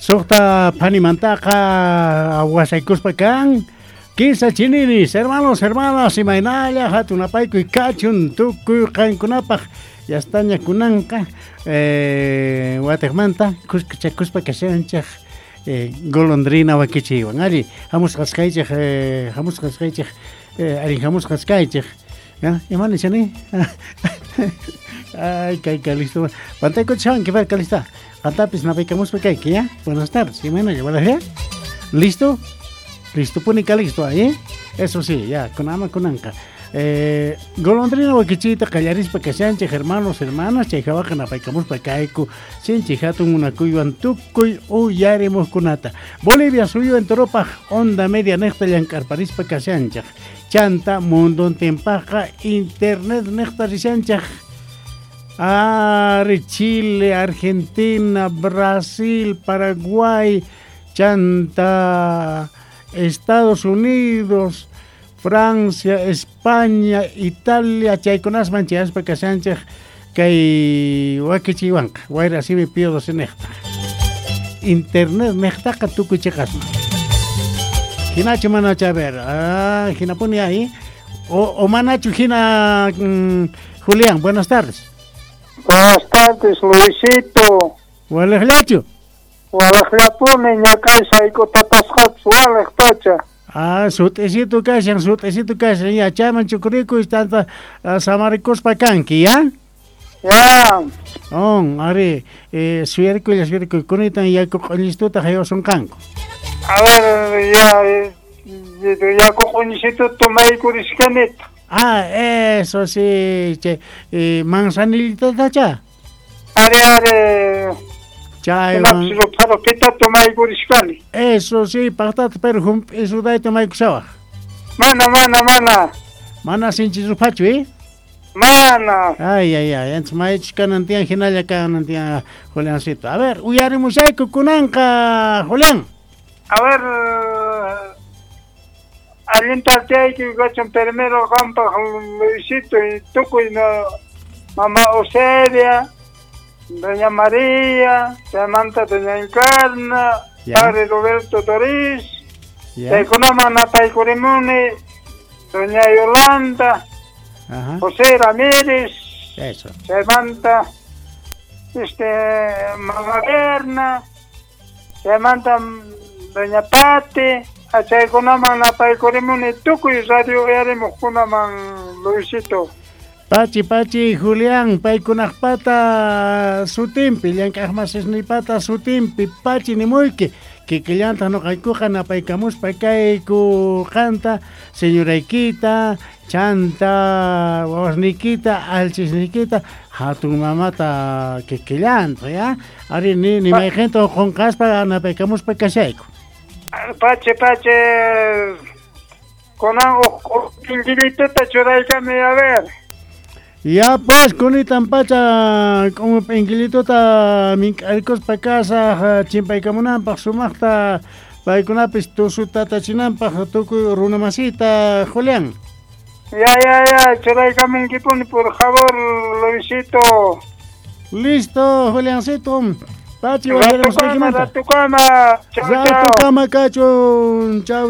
Suqta phanimantaqa wasaykuspa kan. Kinsa chininis, hermanos, hermanas, imaynalla hatunapaykuy kachun tukuy qankunapaq yastaña kunanqa watiqmanta kuskachakuspa kashanchik golondrina wakichiywan. Alli, hamusqasqaychik, hamusqasqaychik, allin hamusqasqaychik. Ima nishani? Ay, kay Calisto. Pantaykuchanki, ver, Calista. Qantapis napaykamuspa kayki, ya? Buenas tardes. Imaynalla, buenas ya? ¿Listo? Listo, pone Calixto ahí, ¿eh? Eso sí, ya, kunama kunanqa. Golondrina wakichiyta qallarispa kashanchik, hermanos, hermanas, chay hawaqa napaykamuspa kayku, sinchi hatun munakuywan tukuy uyarimuqkunata. Bolivia suyu enteropaq onda media niqta llank'arparispa kashanchik. Chanta mundontinpaqqa internet niqta rishanchik. Ari, Chile, Argentina, Brasil, Paraguay, chanta Estados Unidos, Francia, España, Italia, chaykunasman chayaspa kashanchik kay wakichiywanqa, wayra simi Pío XII niqta. Internet niqtaqa tukuy chiqasman. Hinachu manachu, a ver, hinapuni ahí. O manachu hina, Julián, buenas tardes. Buenas tardes, Luisito. Walejllachu. Walejllapuni, ñakay sayk'utatasqapis walej pacha. Ah, sut'isito kashan, sut'isito kashan, ya, chayman chukurikuy, tanta samarikuspa kanki, ya? Ya. On, ari, suyarikuylla, suyarikuy, kunitan yaku q'uñistuta haywasunqanku. A ver, ya, yaku q'uñisitu tomaykurishkanita. Ah, eso sí, che, manzanillitatacha. Ari, ari. Chaywan. Rupita tomaykurishkani. Eso sí, paqtata, pero hump'isudayta tomaykushawaq. Mana, mana, mana. Mana sinchi ruphachu, ¿eh? Mana. Ay, ay, ay, antes maychus kanan tiyan, hinalla kanan tiyan, Juliancito. A ver, uyarimushayku kunanqa, Julián. A ver, allinta chayki kachun primero qampaq Luisito y tukuy no, mamá Eusebia, doña María, chaymanta doña Encarna, padre Roberto Toriz, chaykunaman napaykurimuni, doña Yolanda, Ajá. José Ramírez, Eso. chaymanta mamá Berna, chaymanta doña Pati, achaykunaman napaykurimuni tukuy radio uyarimuqkunaman, Luisito. Pachi, pachi, Julián, paykunaqpata sutinpi, llank'aqmasisniypata sutinpi, pachi nimuyki, kikillantaq nuqaykuqa napaykamuspa kayku qanta, señoraykita, chanta wawasniykita, alchisniykita, hatun mamata kikillantaq, ya? Ari, ni mayqinta qunqaspa napaykamuspa kashayku. Pachi, pachi, kunan uq p'inqillituta churaykami, a ver. Ya pues, kunitan pacha k'umu p'inqillituta mink'arikuspa kasaq chimpaykamunanpaq sumaqta paykunapis tusutatachinanpaq tukuy runamasita, Julián. Ya, ya, ya, churaykamunkipuni, por favor, Luisito. Listo, Juliancito. Pachi, Ratukama, ratukama. Chau, chau. Ratukama kachun. Chau.